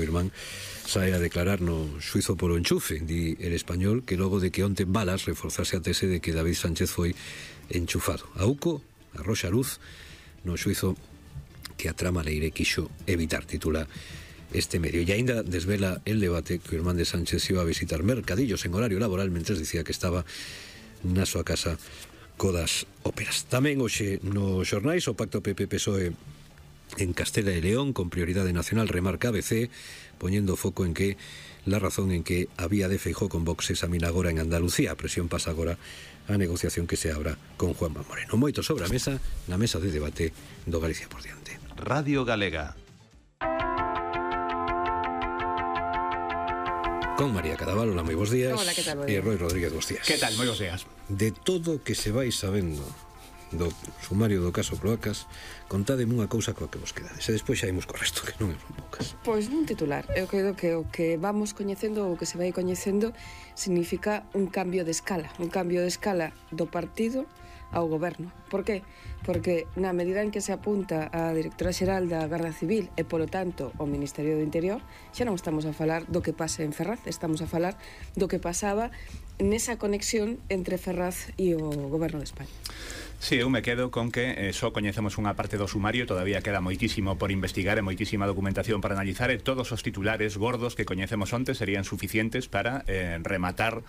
irmán sae a declarar no xuizo polo enchufe, di El Español, que logo de que onte Balas reforzase a tese de que David Sánchez foi enchufado. A UCO arroxa luz no xuizo que a trama Leire quixo evitar, titula este medio. E aínda desvela el debate que o irmán de Sánchez iba a visitar mercadillos en horario laboral mentres dicía que estaba na súa casa codas óperas. Tamén hoxe nos xornais o pacto PP-PSOE en Castela e León con prioridade nacional, remarca ABC, poñendo foco en que la razón en que había de Feijóo con Vox examina agora en Andalucía. A presión pasa agora a negociación que se abra con Juanma Moreno. Moito sobre a mesa, na mesa de debate do Galicia por diante. Radio Galega. Con María Cadaval, hola, moi bons días. Hola, que tal? E Roy Rodríguez, bons días. Que tal? Moi bons días. De todo que se vai sabendo do sumario do caso Cloacas, contádeme unha cousa coa que vos quedades e despois xa imos co resto, que non é poucas. Pois nun titular, eu creo que o que vamos coñecendo, o que se vai coñecendo, significa un cambio de escala do partido ao goberno. Por qué? Porque na medida en que se apunta a directora xeral da Garda Civil e, polo tanto, o Ministerio do Interior, xa non estamos a falar do que pasa en Ferraz, estamos a falar do que pasaba nesa conexión entre Ferraz e o goberno de España. Sí, eu me quedo con que só coñecemos unha parte do sumario, todavía queda moitísimo por investigar e moitísima documentación para analizar, e todos os titulares gordos que coñecemos onte serían suficientes para rematar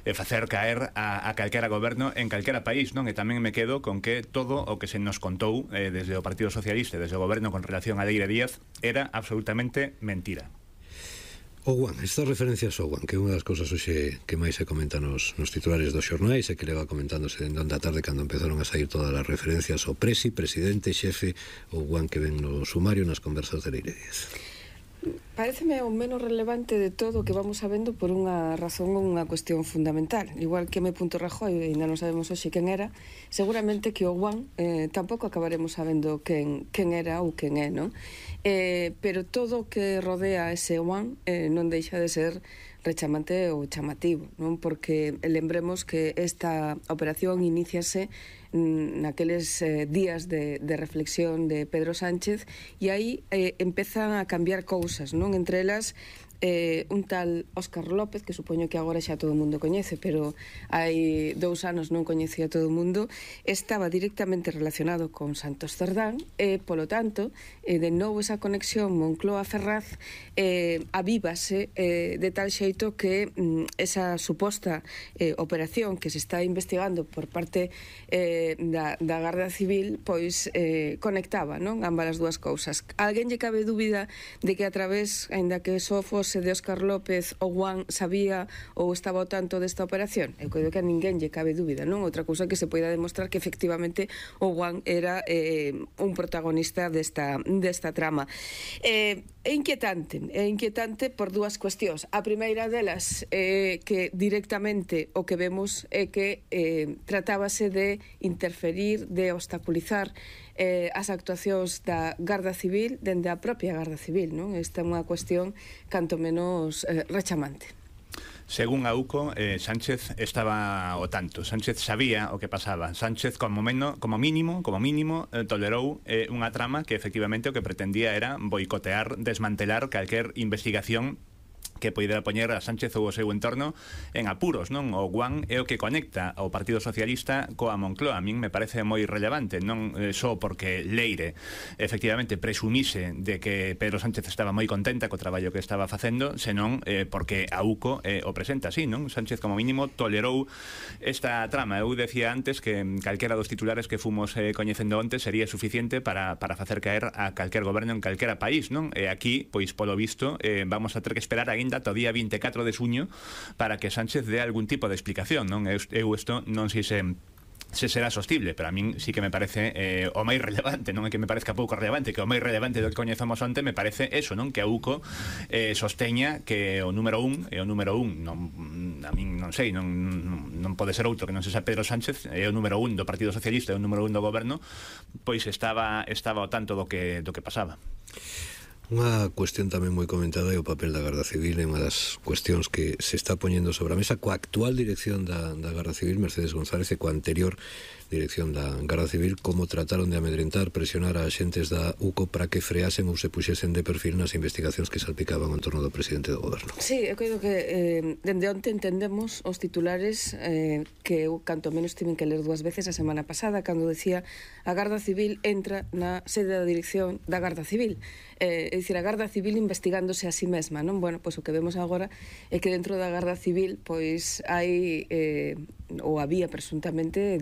e facer caer a calquera goberno en calquera país, non? E tamén me quedo con que todo o que se nos contou desde o Partido Socialista e desde o goberno con relación a Leire Díaz era absolutamente mentira. O Guan, estas referencias ao Guan, que é unha das cousas hoxe que máis se comenta nos titulares dos xornais e que leva comentándose dende onde a tarde cando empezaron a sair todas as referencias ao presidente, xefe, o Guan que ven no sumario nas conversas de Leire Díaz. Paréceme o menos relevante de todo o que vamos sabendo por unha razón ou unha cuestión fundamental. Igual que M.Rajoy, ainda non sabemos hoxe quen era, seguramente que o Guan tampouco acabaremos sabendo quen era ou quen é, non? Pero todo o que rodea ese Guan non deixa de ser rechamante ou chamativo, non? Porque lembremos que esta operación iníciase naqueles días de reflexión de Pedro Sánchez e aí empezan a cambiar cousas, non? Entre elas un tal Óscar López, que supoño que agora xa todo o mundo coñece, pero hai 2 anos non coñecía todo o mundo, estaba directamente relacionado con Santos Cerdán e, polo tanto, de novo esa conexión Moncloa-Ferraz avívase de tal xeito que esa suposta operación que se está investigando por parte da Garda Civil pois conectaba, non? Ambas as dúas cousas. Alguén lle cabe dúbida de que a través, aínda que só fose de Óscar López, o Guan sabía ou estaba ao tanto desta operación? Eu creo que a ninguén lle cabe dúbida, non? Outra cousa que se poida demostrar que efectivamente o Guan era un protagonista desta trama. É inquietante por dúas cuestións. A primeira delas é que directamente o que vemos é que tratábase de interferir, de obstaculizar as actuacións da Garda Civil dende a propia Garda Civil, non? Esta é unha cuestión canto menos rechamante. Según a UCO, Sánchez estaba ao tanto. Sánchez sabía o que pasaba. Sánchez, como mínimo, tolerou unha trama que efectivamente o que pretendía era boicotear, desmantelar calquer investigación que poidera poñer a Sánchez ou o seu entorno en apuros, non? O Guan é o que conecta ao Partido Socialista coa Moncloa. A min me parece moi relevante, non só porque Leire efectivamente presumise de que Pedro Sánchez estaba moi contenta co traballo que estaba facendo, senón porque a UCO o presenta así, non? Sánchez como mínimo tolerou esta trama. Eu decía antes que calquera dos titulares que fomos coñecendo onte sería suficiente para facer caer a calquer goberno en calquera país, non? E aquí, pois polo visto, vamos a ter que esperar aínda ata o día 24 de xuño para que Sánchez dé algún tipo de explicación, non? Eu isto non sei se será sostible, pero a min sí que me parece o máis relevante, non é que me parezca pouco relevante, que o máis relevante do que coñezamos onte me parece eso, non? Que a UCO sosteña que o número 1 é o número 1, a min non sei, non pode ser outro que non sexa Pedro Sánchez, é o número 1 do Partido Socialista, é o número 1 do goberno, pois estaba ao tanto do que pasaba. Unha cuestión tamén moi comentada é o papel da Garda Civil, é unha das cuestións que se está poñendo sobre a mesa coa actual dirección da Garda Civil, Mercedes González, e coa anterior dirección da Garda Civil, como trataron de amedrentar, presionar a xentes da UCO para que freasen ou se puxesen de perfil nas investigacións que salpicaban en torno do presidente do goberno. Sí, eu creo que dende onte entendemos os titulares que eu canto menos tiven que ler 2 veces a semana pasada, cando decía a Garda Civil entra na sede da dirección da Garda Civil. É dicir, a Garda Civil investigándose a si mesma, non? Bueno, pois o que vemos agora é que dentro da Garda Civil pois hai ou había presuntamente